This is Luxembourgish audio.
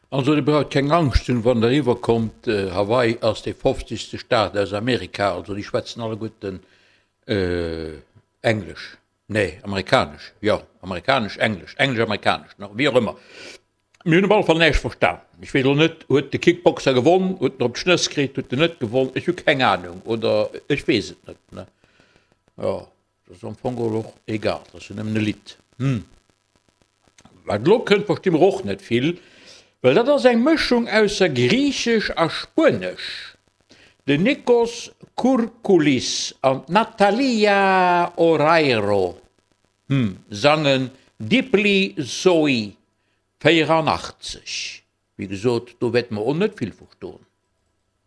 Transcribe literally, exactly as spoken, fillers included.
Also dir braucht keng Angscht ze hunn, wann der eriwwer kommt, Hawaii ass dee fofzegste Staat aus Amerika, also déi schwätzen alleguerten Englesch, nee amerikanesch, jo amerikanesch-englesch, englesch-amerikanesch, wéi och ëmmer. Mir hunn op alle Fall näischt verstan. Ech weess elo net, huet de Kickboxer gewonn, huet en op d'Schnëss kritt, huet en net gewonn, ech hu keng Anung oder ech weess et net, ne. Jo, dat ass am Fong geholl och egal, dat ass jo nëmmen e Lidd. Hm. Wat elo kënnt, versti mer och net vill, well dat ass eng Mëschung ausser Griichesch a Spuenesch. Den Nikos Kourkoulis an d'Natalia Oreiro, hm, sangen Dipli Zoi véierannachtzeg. Wéi gesot, do wäerte mer och net vill verstoen.